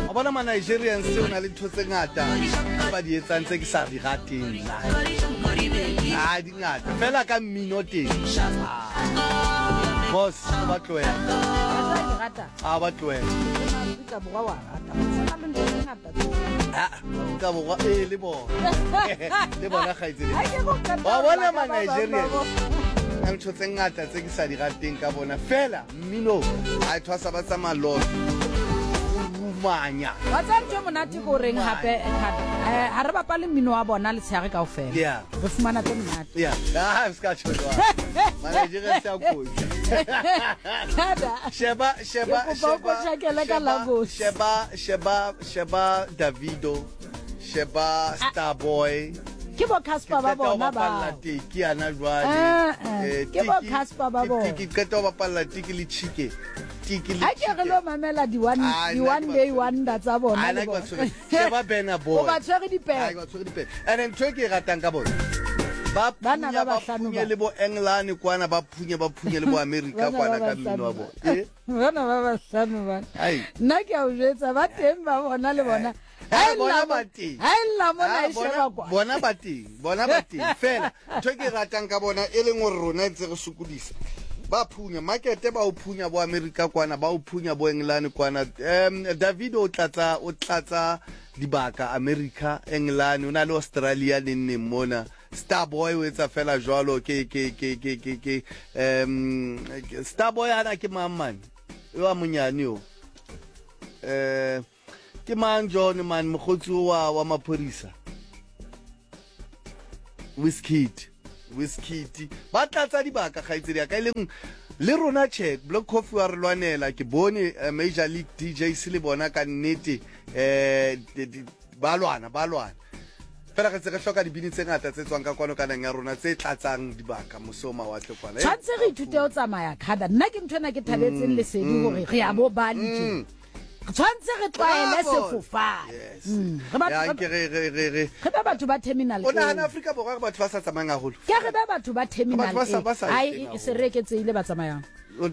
Wa bona ma Nigerians o na le ntho tse ngata tse ba di etsang tse ke sa di rateng nna. Ah, di ngata. Fela ka mmino teng. Ah. Boss, o ba tlohela. A ba tlohela. Afrika Borwa wa rata. Go na le ntho tse ngata tse. Ah, Afrika Borwa ee le bona. Le bona kgaitsedi. Ha ke go qeta Wa ho bona lla ma ka ba bang ba Nigerians. bona. Na ntho tse ngata tse ke sa di rateng ka bona. Fela mmino a thwasa ba tsamaya lot. Rumanya. Wa tseba ntho e monate ke goreng gape Thata? Eh, ga re bapale mmino wa bona letshegare kaofela. Yeah. Re fumana tse monate. Yeah. Ah, se ka tjho jwalo. Ma Nigerians a kotsi. Thata. Sheba, sheba, Ke kopa o sheba. potlakele ka sheba, Lagos. Sheba, sheba, sheba Davido. Sheba Starboy. Ke bo Casper ba Ke qeta ho bona bapalla bao. teki yana jwale. Eh, eh, Eh, ke bo Tiki- Casper ba ke- bona. Tiki qeta ho bapalla tiki le chike. Tiki le Ha ke re chike. lo mamela di one, Ah, di nna ke one ba day tshwere wonder tsa bona Ah, le nna ke ba bona. tshwere. Sheba Burna Boy. O ba tshwere Ah, dipere. ke ba tshwere dipere. And ntho e ke e ratang ka bona. Ba Bana phunya, ba ba bahlano phunye ba. le bo Engelane kwana, ba phunye, ba phunye le bo America Bana ba kwana ka bahlano mmino wa ba. bona. Eh? Bana ba bahlano bana. Ai. Nna ke a o jwetsa ba teng ba bona le bona. Ha Eh, e bona lla ba mo- teng. ha e lla mona Ah, e bona- sheba kwa. bona ba teng bona ba teng fela ntho e ke e ratang ka bona e leng gore rona e ntse re sokodisa ba phunya markete ba o phunya bo america kwana ba o phunya bo england kwana um david o tlatsa o tlatsa dibaka america england o na le australia neng neng mona starboy o etsa fela jwalo ke ke ke ke ke ke um starboy ana ke mang mane yo a monyane yo um Ke mang John man mokgotsi wa wa maphodisa? Wizkid. Wizkid. Ba tlatsa dibaka kgaitsedi ya ka e leng le rona che Black Coffee wa re lwanela ke bone eh, Major League DJs le bona ka nnete eh ba lwana ba lwana fela re tse re hloka dibini tse ngata tse tswang ka kwano ka nang ya rona tse tlatsang dibaka mose o mawatle kwana tshwanetse re ithute ho tsamaya khada nna ke ntho ena ke thabetseng lesedi hore re ya bo bali tje tshwanetse re tlwaele sefofane mm. re be batho ba terminal o nagana Afrika Borwa re batho ba sa tsamayang haholo ke re be batho ba terminal ai e se re eketseile ba tsamayang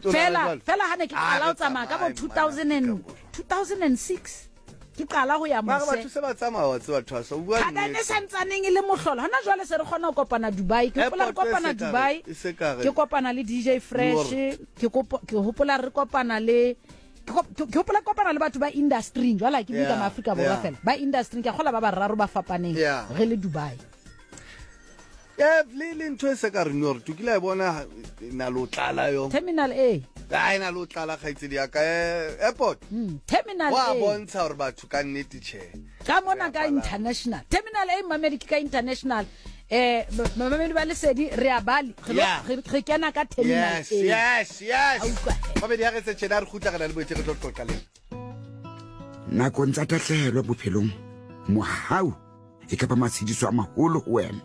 fela fela ha ne ke qala ho tsamaya ka bo 2000 2006 ke qala ho ya mose batho se ba tsamaya wa tseba thwasa o bua nnete e santsaneng e le mohlolo hona jwale se re kgona ho kopana Dubai ke hopola re kopana Dubai ke kopana le DJ Fresh ke hopola re kopana le ke hopola kopana le batho ba industry jwale ha ke bue ka maafrika borwa fela ba industry ke a kgola ba bararo ba fapaneng re le dubai Eh, le le ntho e se ka re nyor to kile a e bona na lo tlala yo terminal a ai na lo tlala kgaitsedi ya ka eh, airport terminal wa a bontsha gore batho ka nnete tjhe ka mona ka international terminal a mamedi ke ka international eh mamedi ba lesedi re a bali re kena ka terminal yes yes yes mamedi ya re tse tjena re kgutla re na le boetse re tlo qoqa le nakong tsa tahlehelo bophelong mohau e ka ba matshediso a maholo ho wena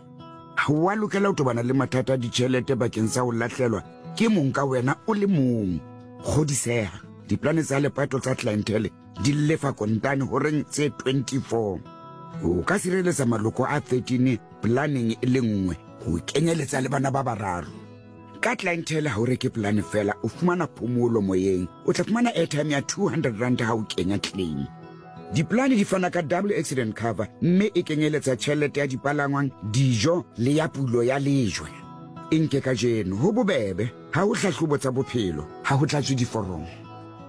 ha wa lokela ho tobana le mathata a ditjhelete bakeng sa ho lahlelwa ke mong ka wena o le mong kgodiseha diplane tsa lepato tsa clientele di lefa kontane horeng tse 24 o ka sireletsa maloko a 13 planeng e le nngwe ho kenyeletsa le bana ba bararo ka clientele ha o reke polane fela o fumana phomolo moyeng o tla fumana airtime ya 200 rand ha o kenya claim diplane di fana ka double accident cover mme e kenyeletsa tjhelete ya dipalangwang dijo le ya pulo ya lejwe e nke ka jeno ho bobebe ha ho hlahlobo tsa bophelo ha ho tlatswe diforomo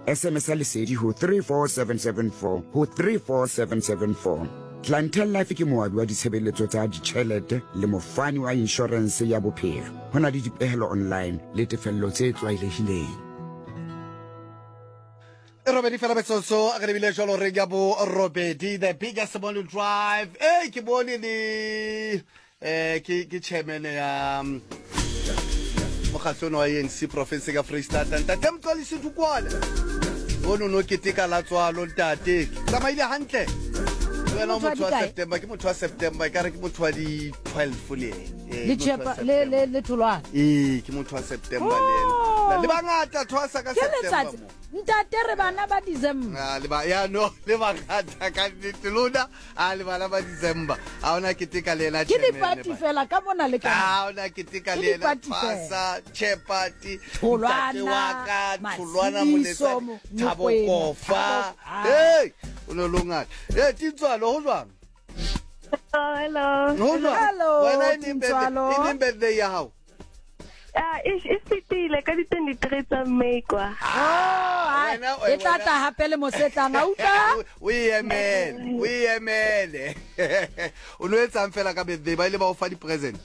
SMS ya lesedi ho 34774 ho 34774. Clientele Life ke moabi wa ditshebeletso tsa ditjhelete le mofani wa inshorense ya bophelo. Ho na le dipehelo online le tefello tse tlwaelehileng. E robedi fela metsotso re lebile jalo re ya bo robedi the biggest morning drive e ke bone le eh ke ke chairman ya mm, mokgatlo ono wa ANC province ka Freistata ntate Mxolisi Dukwala ono no keteka la tswalo ntate tsamaile hantle le wena o Motho wa motho wa dikae? September ke motho wa September e ka re ke motho wa di 12 le ene Eh, le ke motho wa tšhepa le le September. le tholwana ee ke motho wa September le ena Oh. le bangata thwasa ka ke September letsatsi mo ntate re bana ba december Ah, le ba ya no le bangata ka nnete lona a le bana ba December a ona keteka le ena ke dipati fela ka mona le ka a ona keteka le ena Fasa Chepati Tholwana, ntate wa ka Tholwana Matshidiso, Moletsane Thabo Mokwena, Kofa Thabo- hey O ne o le o ngata. E Tintswalo ho jwang? Hello. Ho jwang? Hello, Wena e neng birthday, Tintswalo. e neng birthday ya hao? Ah, e e fetile ka di 23 tsa May kwa. Oh, ai, Wena, e tla wena. tla hape le mosetlang a utlwa O e emele, o e emele. O no etsang fela ka birthday ba ile ba o fa di-present.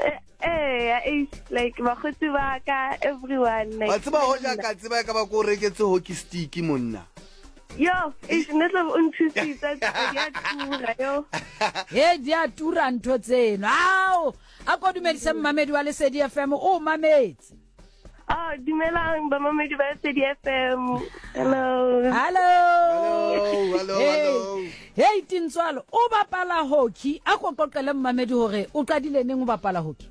Eh, eh, eh, like bakgotsi ba ka everyone like. Wa tseba hoja ka tseba e ka ba ko o reketse hockey stick monna. Yo, eish nne tla o nthusitse di a tura yo. He di a tura ntho tseno. Ao, a ko dumedise mmamedi wa Lesedi FM o mametse. Oh, dumelang bamamedi ba Lesedi FM. Hello. Hello. Hello, hello, Hey. hello. Hey Tintswalo, o bapala hockey. A ko qoqele mmamedi hore o qadile neng o bapala hockey?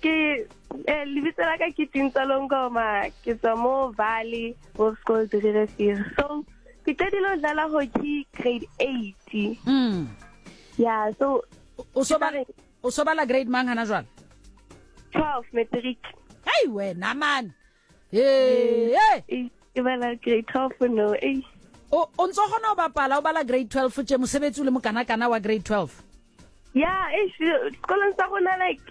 Ke eh, lebitso la ka ke Tintswalo Ngoma, ke tswa mo Valley Hoërskool Drierivier. So, ke qadile ho dlala hockey grade 8. Yeah, so O so bala o so bala grade mang hana jwale? 12 matric. Hey wena man. Hey, hey. Eh, Ke bala grade 12 no. Eh. O o ntso kgona ho bapala o bala grade 12 tje mosebetsi o le mokanakana wa grade 12. Yeah, eh sekolong sa rona like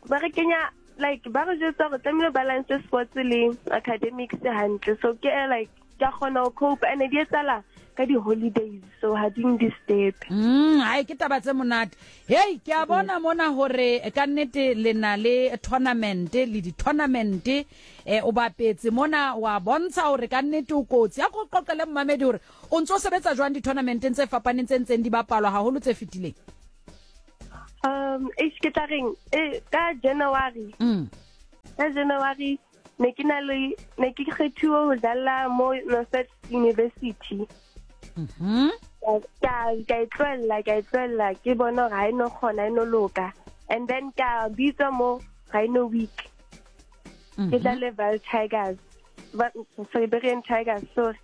ba re kenya like ba re jwetsa hore tlamehile balance sports le academics hantle. So ke eh, like ke a kgona ho cope and di etsahala ka di-holidays so ha di disturb. Hai ke taba tse monate. Hey, ke a bona mona hore ka nnete le na le tournament le di-tournament o bapetse mona wa bontsha hore ka nnete o kotsi. A ko qoqele mmamedi hore o ntso sebetsa jwang di-tournamenteng tse fapaneng tse ntseng di bapalwa haholo tse fetileng. Eish ke tla reng eh, ka January. Ka January ne ke na le ne ke kgethuwe ho dlala mo Northwest University. Ka ka e tlohella ka e tlohella ke bona hore ha e no kgona e no loka. And then ka bitswa mo Rhino Week. Ke dlale Vaal Tigers. Siberian Tigers, sorry.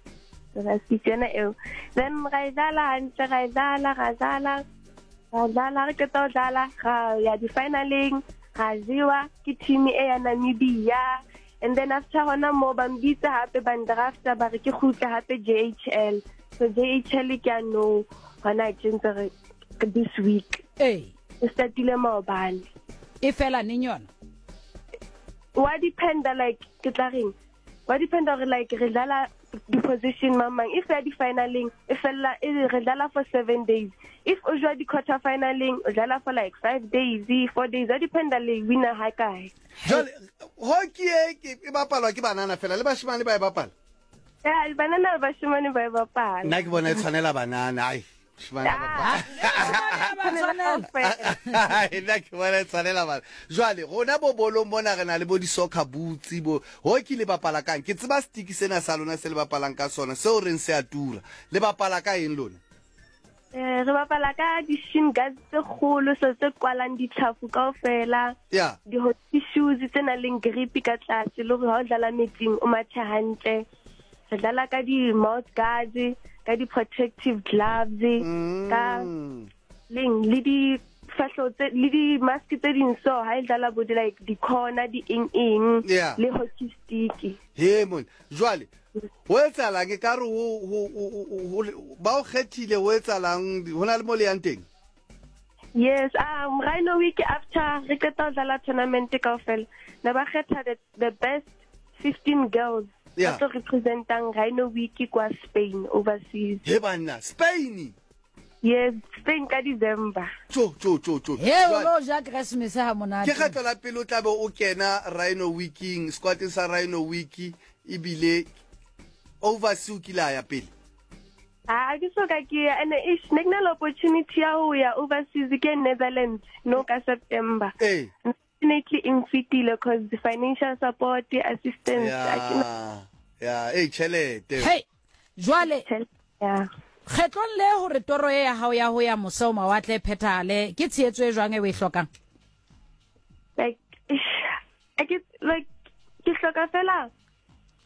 Ra yona eo. Then ra e dlala hantle ra e dlala ra dlala ra dlala re qeta ho dlala ra ya di-finaleng ra jewa ke team e ya Namibia. And then after hona mo ba mbitsa hape ba ndrafta ba re ke kgutle hape JHL. So JHL ke a no hona tje ntse re this week. Eh, E startile maobane. e fela neng yona? Wa dependa like ke tla reng? Wa dependa hore like re dlala di-position mang mang. If ya di-finaleng e fella e re dlala for 7 days. If o jwa di-quarter finaleng o dlala for like 5 days, 4 days. Wa dependa le winner ha kae. Jwale hockey e ke e bapalwa ke banana fela le bashemane ba e bapala. Ya banana le bashemane ba e bapala. Nna ke bona e tshwanela banana ai. Bashemane ba bapala. Ba tshwanela. Ai, nna ke bona e tshwanela bana. Jwale rona bo bolong mona re na le bo di-soccer boots bo hockey le bapala kang? Ke tseba stick sena sa lona se le bapalang ka sona seo reng se a tura. Le bapala ka eng lona? Eh, re bapala ka di-shin guards tse kgolo so tse kwalang ditlhafu kaofela. Yeah. Di-hockey shoes tse nang le grip ka tlase le hore ha o dlala metsing o mathe hantle. Re dlala ka di-mouth guards, ka di-protective gloves, ka leng le difahleho tse le di-mask tse ding so ha e dlala bo di like di-corner di eng eng Yeah. le hockey stick. He mon. Jwale ho etsahalang e ka re ho ba o kgethile ho etsahalang ho na le mo le yang teng? Yes, Rhino Week after re qeta ho dlala tournament kaofela, ne ba kgetha the best 15 girls Yeah. ba tlo representang Rhino Week kwa Spain overseas. He banna, Spain. Yes, Spain ka December. Tjo tjo tjo tjo. He o Jwale, lo ja Christmas ha monate. Ke kgetlo la pele o tlabe o kena Rhino Weeking, squadeng sa Rhino Week ebile overseas o kile a ya pele. Ha ke so ka ke ya and ish ne ke na le opportunity ya ho ya overseas ke Netherlands no ka September. Eh. Unfortunately e nfetile cause the financial support, the assistance a ke na Ya. Ya, eh tjhelete. Hey, jwale tjhelete. Yeah. kgetlong le hore toro e ya hao ya ho ya mose ho mawatle e phethahale ke tshehetso e jwang e o e hlokang? Like ish, I get like ke hloka fela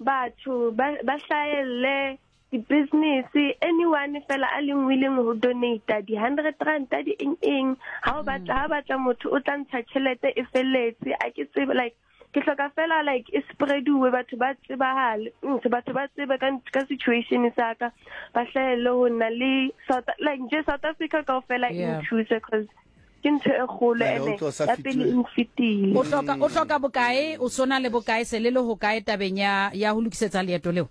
batho ba ba hlahelle di-business anyone fela a leng willing ho donate di 100 rand di eng eng ha o batla ha batla motho o tla ntsha tjhelete e felletse a ke tsebe like Ke hloka fela like e spreaduwe, batho ba tsebahale, batho ba tsebe ka ka situation sa ka, ba hlahelle ho nna le South, like nje South Africa kaofela e nthuse, cause ke ntho e kgolo. Jwale o ene tlo sa ya pele fetile. e nfetile. O hloka bokae? O sona le bokae? Se le le hokae tabeng ya ho lokisetsa leeto leo?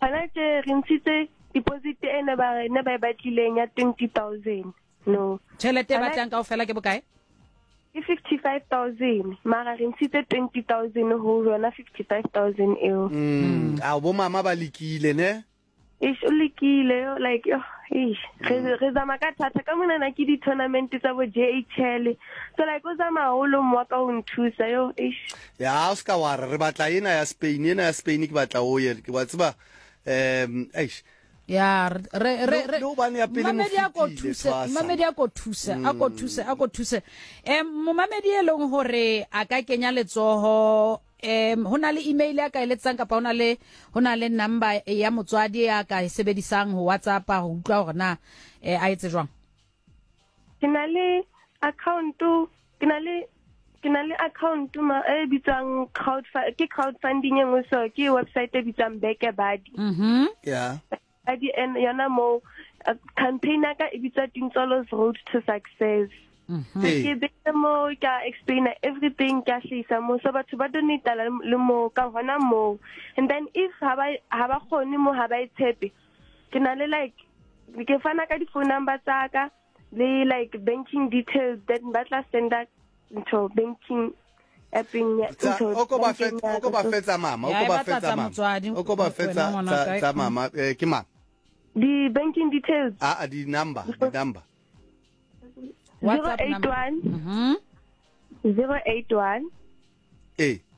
Hona tje re ntshitse deposit e ne ba e batlileng ya 20 000, no. Tjhelete e Hona- batlang kaofela ke bokae? Ke 55 000, mara re ntshitse 20 000 ho yona 55 000 eo. A bo mama ba lekile, ne? Eish, o lekile yo, like yo, eish, re zama ka thata ka monana, ke di-tournament tsa bo JHL, so like o zama haholo mo wa ka ho nthusa yo, eish. Ya, o ska wa re re batla ena ya Spain, ena ya Spain ke batla o ye, ke wa tseba, eish. Ya, re re re Le hobane ya pele mo Momamedi a ko fetile, thuse. tshwasa. Momamedi a ko thuse, a ko thuse, a ko thuse. Momamedi e leng hore a ka kenya letsoho, ho na le email ya ka eletsang, kapa ho na le number ya motswadi ya ka e sebedisang ho WhatsApp ho utlwa hore na a etse jwang? Ke na le account, ke na le account ma e bitswang crowd, ke crowdfunding e nngwe, so ke website e bitswang BackaBuddy. Buddy, and yona mo campaign ya ka e bitswa Tintsolo's Road to Success. Ke beile mo, ka explaina everything, ka hlahisa mo, so batho ba donata le mo ka hona mo. And then if ha ba kgone mo, ha ba e tshepe, ke na le like ke fana ka di-phone number tsa ka le like banking details, then ba tla senda ntho banking appeng ntho O ko ba bankeng o ya ko ba ka. So fetsa mama, o Ya, ko e ba batla fetsa tsa mama. motswadi. O ko ba Wena fetsa ngwana tsa kae? Tsa mama, ke mang? Di-banking details. A di number. WhatsApp number. 081 081.